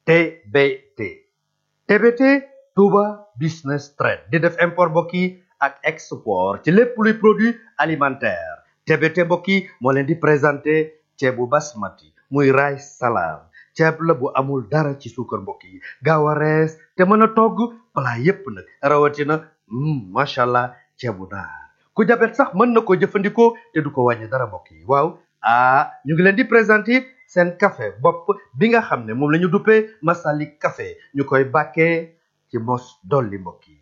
TBT TBT Touba Business Trade di def import mbokk yi ak export ci lépp luy produit alimentaire TBT mbokk yi moo leen di présenté ceebu basmati muy rice salam ceeb la bu amul dara ci suukar mbokk yi gaaw a rees te mën a togg plat yépp nag rawatina macha allah ceebu naar ku jabet sax mën na ko jëfandikoo te du ko wàññi dara mbokk yi waaw ñu ngi leen di présenté seen café bopp bi nga xam ne moom la ñu duppee Masalik café ñu koy bàkkee ci mos dolli mbokk yi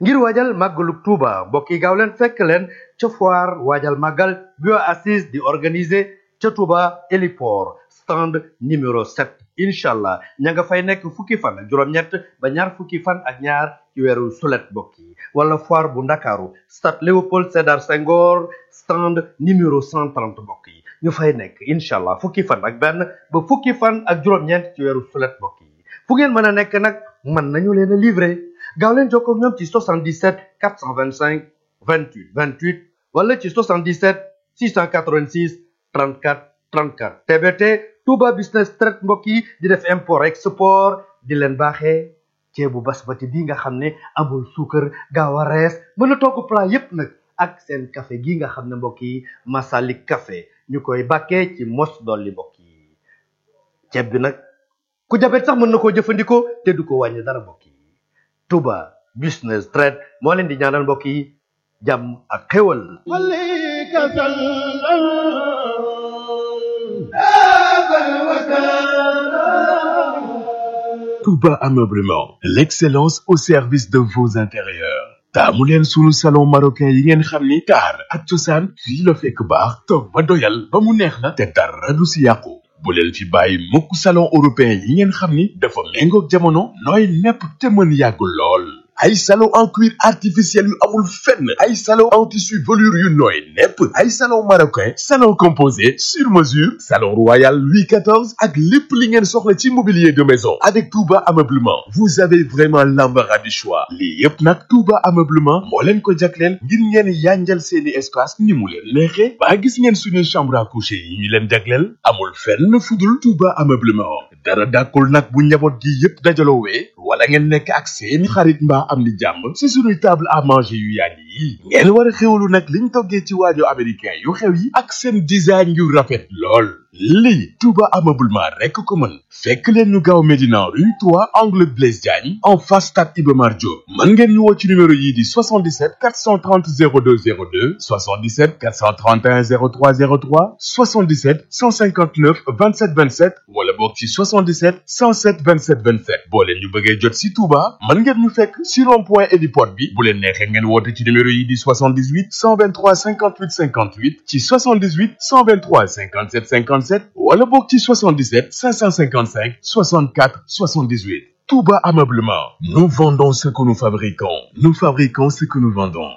ngir waajal màggalu Tuuba mbokk yi gaaw leen fekk leen ca foire waajal màggal bio assise di organiser ca Tuuba héliport stand numéro 7 incha allah ña nga fay nekk fukki fan ak juróom-ñett ba ñaar fukki fan ak ñaar ci weeru sulet mbokk yi wala foire bu ndakaaru stade Léopold Sédar Senghor stand numéro 130 mbokk yi ñu fay nekk incha allah fukki fan ak benn ba fukki fan ak juróom-ñeent ci weeru sulet mbokk yi fu ngeen mën a nekk nag mën nañu leen a livrer gaaw leen jokkoo ak ñoom ci 77 425 28 28 wala ci 77 686 34 34 TBT Touba Business Trade mbokk yi di def import export di leen baaxee ceebu basmati bi nga xam ne amul suukar gaaw a rees mën a togg plat yépp nag ak seen café gi nga xam ne mbokk yi Masalik café ñu koy bàkkee ci mos dolli mbokk yi ceeb bi nag ku jabet sax mën na koo jëfandikoo te du ko wàññi dara mbokk yi Touba Business Trade moo leen di ñaanal mbokk yi jàmm ak xéwal Touba Ameublement, l'excellence au service de vos intérieurs. taamu leen sunu salon marocain yi ngeen xam ni taar ak cosaan fii la fekk baax toog ba doyal ba mu neex la te dara du si yàqu bu leen fi bàyyi mukk salon européen yi ngeen xam ni dafa méngoog jamono nooy nepp te mën yàgg lool ay salon en cuir artificiel yu amul fenn ay salon en tissu velours yu nooy nepp ay salon marocain salon composé sur mesure salon royal Louis XIV ak lépp li ngeen soxla ci mobilier de maison avec Touba Ameublement vous avez vraiment l'embarras du choix lii yépp nag Touba Ameublement moo leen ko jagleel ngir ngeen yanjal seeni espace ni mu leen neexee ba gis ngeen suñu chambre à coucher yi ñu leen jagleel amul fenn fudul Touba Ameublement dara dàkkul nag bu njaboot gi yépp dajaloowee wala ngeen nekk ak seeni xarit mbaa am ni jàmm ci suñuy table à manger yu yàgg yi ngeen war a xewlu nag liñ toggee ci waajo américain yu xew yi ak seen design yu rafet lool lii Touba Ameublement rekk ko mën fekk leen ñu gaaw Médina rue 3 angle Blaise Diagne en face stade Iba Mar Diop mën ngeen ñu woo ci numéro yii di 77 430 02 02 77 431 03 03 77 159 27 27 wala boog ci 77 107 27 27 boo leen ñu bëggee jot si Touba mën ngeen ñu fekk si rond-point héliport bi bu leen neexee ngeen woote ci numéro yi di 78 123 58 58 ci 78 123 57 57 wala boog ci 77 555 64 78 Touba Ameublement. Nous vendons ce que nous fabriquons. Nous fabriquons ce que nous vendons.